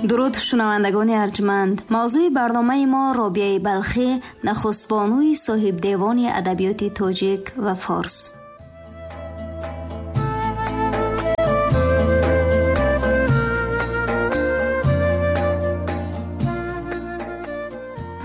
Дуруд, шунавандагони арҷманд. Мавзӯи барномаи мо Робиаи Балхӣ, нахустбонуи соҳибдевони адабиёти тоҷик ва форс.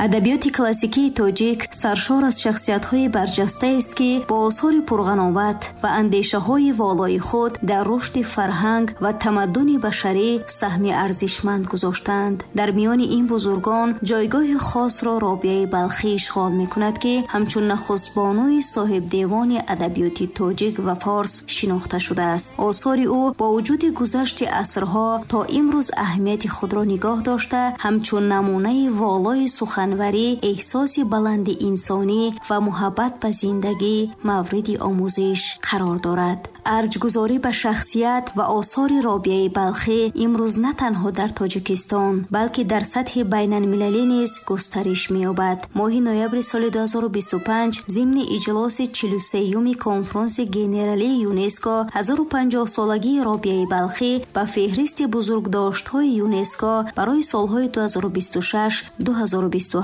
Адабиёти классикии тоҷик саршор аз шахсиятҳои барҷастаест, ки бо осори пурғановат ва андешаҳои волои худ дар рушди фарҳанг ва тамаддуни башарӣ саҳми арзишманд гузоштаанд. Дар миёни ин бузургон ҷойгоҳи хосро Робиаи Балхӣ ишғол мекунад, ки ҳамчун нахустбонуи соҳибдевони адабиёти тоҷик ва форс шинохта шудааст. Осори ӯ бо вуҷуди гузашти асрҳо то имрӯз аҳамияти худро нигоҳ дошта, ҳамчун намунаи волои сухан эҳсоси баланди инсонӣ ва муҳаббат ба зиндагӣ мавриди омӯзиш қарор дорад. Арҷгузорӣ ба шахсият ва осори Робиаи Балхӣ имрӯз на танҳо дар Тоҷикистон, балки дар сатҳи байналмилалӣ низ густариш меёбад. Моҳи ноябри соли 2025 зимни иҷлоси 43-юми конфронси генералии ЮНЕСКО 1050-солагии Робиаи Балхӣ ба феҳристи бузургдоштҳои ЮНЕСКО барои солҳои 2026-2027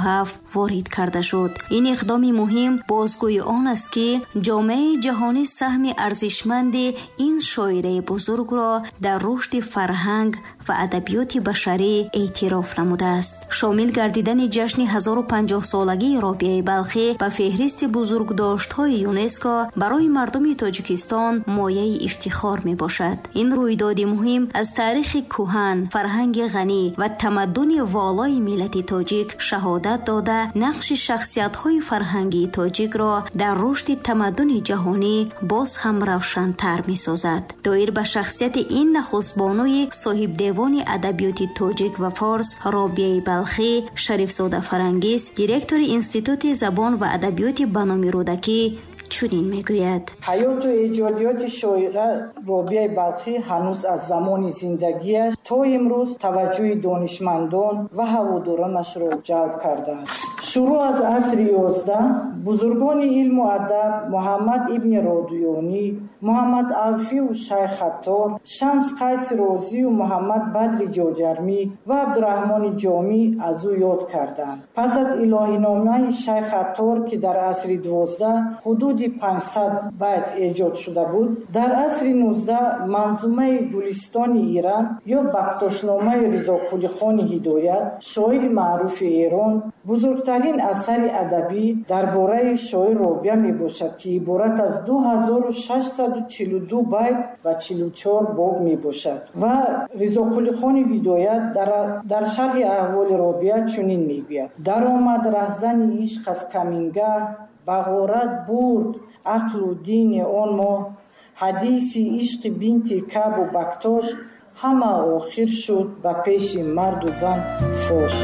ворид карда шуд. Ин иқдоми муҳим бозгӯи он аст, ки ҷомеаи ҷаҳонӣ саҳми арзишманди ин шоираи бузургро дар рушди фарҳанг ва адабиёти башарӣ эътироф намудааст. Шомил гардидани ҷашни 1050-солагии Робиаи Балхӣ ба феҳристи бузургдоштҳои ЮНЕСКО барои мардуми Тоҷикистон мояи ифтихор мебошад. Ин рӯйдоди муҳим аз таърихи кӯҳан, фарҳанги ғанӣ ва тамаддуни волои миллати тоҷик шаҳодат дода, нақши шахсиятҳои фарҳангии тоҷикро дар рушди тамаддуни ҷаҳонӣ боз ҳам равшантар месозад. Доир ба шахсияти ин нахустбонуи соҳибдевони адабиёти тоҷик ва форс Робиаи Балхӣ, Шарифзода Фарангиз, директори Институти забон ва адабиёти ба номи Рӯдакӣ чунин мегӯяд: ҳаёту эҷодиёти шоира Робиаи Балхӣ ҳанӯз аз замони зиндагиаш то имрӯз таваҷҷӯҳи донишмандон ва ҳаводоронашро ҷалб кардааст. Шурӯъ аз асри 11 бузургони илму адаб Муҳаммад ибни Родуёнӣ, Муҳаммад Авфию Шайх Аттор, Шамс Қайси Розию Муҳаммад Бадри Ҷоҷармӣ ва Абдураҳмони Ҷомӣ аз ӯ ёд карданд. Пас аз илоҳиномаи Шайх Аттор, ки дар асри 12 ҳудуди 500 байт эҷод шуда буд, дар асри 19 манзумаи Гулистони Ирам ё Бактошномаи Ризоқулихони Ҳидоят, шоири маъруфи Эрон, бузургтарин асари адабӣ дар бораи шоир Робиа мебошад, ки иборат аз 2642 байт ва 44 боб мебошад. Ва Ризоқулихони Ҳидоят дар шарҳи аҳволи Робиа чунин мегӯяд: даромад раҳзани ишқ аз камингаҳ, ба ғорат бурд ақлу дини он моҳ, ҳадиси ишқи бинти Кабу Бактош ҳама охир шуд ба пеши марду зан фош.